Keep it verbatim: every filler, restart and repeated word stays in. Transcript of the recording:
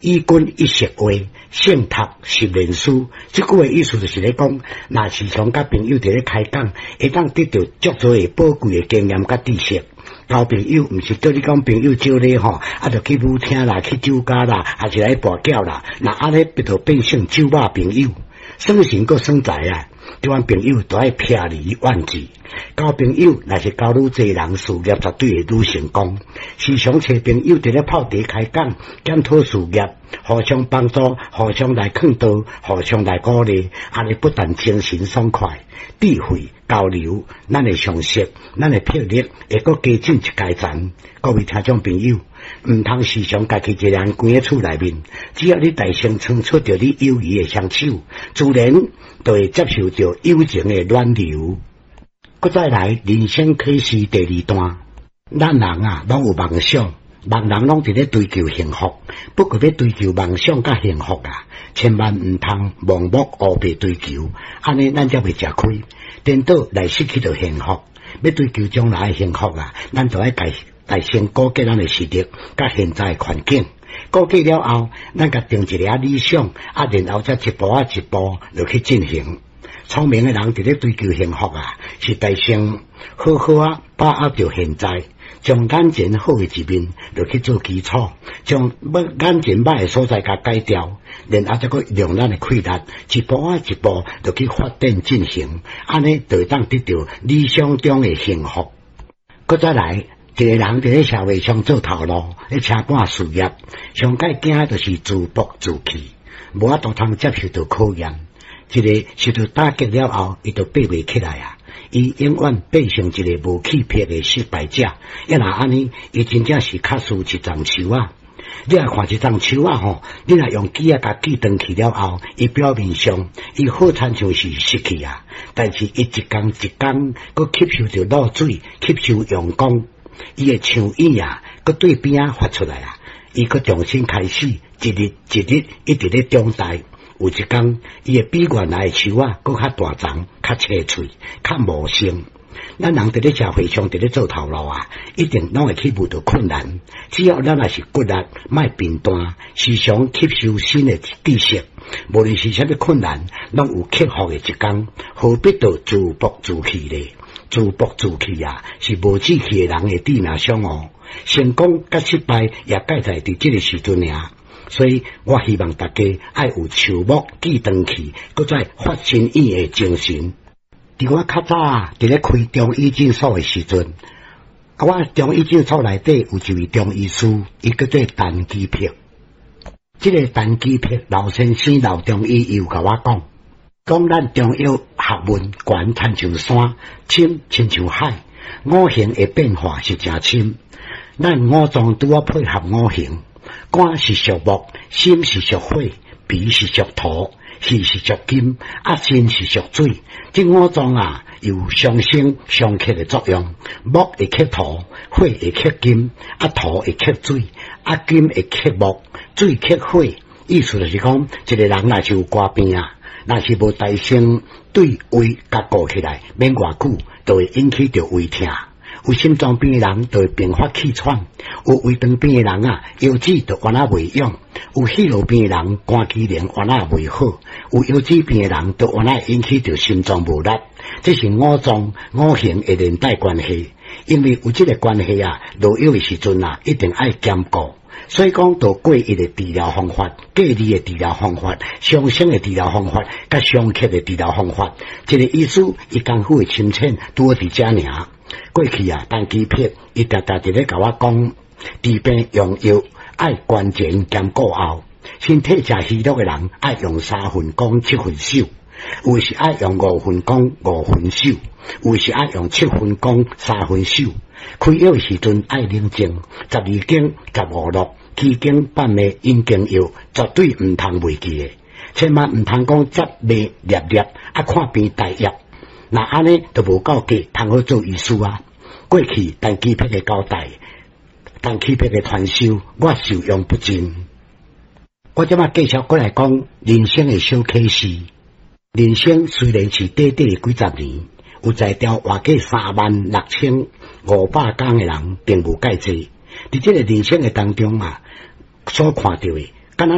與君一席話，勝讀十年書。這句話意思就是咧講，若時常佮朋友佇咧開講，會當得著足濟的寶貴的經驗佮知識。交朋友毋是叫你講朋友招你吼，啊，就去舞廳啦，去酒家啦，還是來跋筊啦。若按呢，變做變成酒肉朋友，耍神閣耍財啊！這款朋友都愛撇而遠之。交朋友若是交愈濟人，事業絕對會愈成功。時常揣朋友佇咧泡茶開講，檢討事業，互相幫助，互相來勸導，互相來鼓勵，按呢不但精神爽快、智慧交流，咱的常識、咱的魄力會閣加進一階層。各位聽眾朋友，毋通時常家己一個人關佇厝內面，只要你大聲伸出著你友誼的雙手，自然就會接受著友情的暖流。閣再來，人生啟示第二段，咱人啊，攏有夢想，人人攏佇咧追求幸福。不過欲追求夢想佮幸福啊，千萬毋通盲目烏白追求，按呢咱才袂食虧，顛倒來失去著幸福。欲追求將來的幸福啊，咱就愛家來先估計咱的實力佮現在的環境。估計了後，咱共定一个理想，啊，然後才一步仔一步落去進行。聰明的人佇咧追求幸福啊，是代先好好仔把握著現在，將眼前好的一面落去做基礎，將眼前歹的所在共改掉，然後才閣用咱的氣力，一步仔一步落去發展進行，按呢就會當得著理想中的幸福。閣再來，一個人佇咧社會上做頭路，咧車趕事業，上蓋驚的就是自暴自棄，無法度通接受著考驗。一个受著打擊了後，伊就爬袂起來啊！伊永遠變成一个無氣魄的失敗者。抑若按呢，伊真正是較輸一叢樹仔。你若看一叢樹仔吼，你若用鋸仔共鋸斷去了後，伊表面上伊好親像是死去啊，但是伊一工一工閣吸收著露水，吸收陽光，伊的樹影啊，閣對邊仔發出來啊，伊閣重新開始，一日一日一直咧長大。有一工，伊會比原來的樹仔閣較大叢、較青翠、較茂盛。咱人佇咧社會上佇咧做頭路啊，一定攏會去遇著困難。只要咱若是骨力，莫貧惰，時常吸收新的知識，無論是啥物困難，攏有克服的一工。何必著自暴自棄咧？自暴自棄啊，是無志氣的人的致命傷哦。成功佮失敗也蓋在佇這个時陣爾。所以我希望大家愛有樹木鋸斷去，閣再發新葉的精神。佇我較早佇咧開中醫診所的時陣，啊，我中醫診所內底有一位中醫師，伊叫做陳基柏。這个陳基柏老先生老中醫，伊有共我講，講咱中藥學問懸親像山，深親像海，五行的變化是誠深。咱五臟拄好配合五行。肝是屬木，心是屬火，脾是屬土，肺是屬金，啊腎是屬水。這五臟啊，有相生相剋的作用。木會剋土，火會剋金，啊土會剋水，啊金會剋木，水剋火。意思就是講，一個人若是有肝病啊，若是無大聲對胃共顧起來，免偌久就會引起著胃疼。有心臟病的人就會併發氣喘，有胃腸病的人啊，腰子就彎仔袂勇；有血尿病的人，肝機能彎仔袂好；有腰子病的人，就彎仔引起著心臟無力。這是五臟五行的連帶關係，因為有這个關係啊，落藥的時陣啊，一定愛兼顧。所以講，著過一的治療方法、隔離的治療方法、相生的治療方法、佮相剋的治療方法，這个醫師伊功夫的深淺拄好佇遮爾。過去啊，陳基柏伊定定佇咧共我講，治病用藥愛觀前兼顧後，身體誠虛弱的人愛用三分攻七分守，有的是愛用五分攻五分守，有的是愛用七分攻三分守。開藥的時陣愛冷靜，十二經、十五絡、奇經八脈引經藥，絕對毋通袂記的，千萬毋通講接脈粒粒啊，看病大藥。若按呢就無夠格，通好做醫師啊！過去陳基柏的交代，陳基柏的傳授，我受用不盡。我這擺繼續閣來講人生的小啟示。人生雖然是短短的幾十年，有才調活過三萬六千五百工的人，並無蓋濟。佇這个人生的當中啊，所看著的，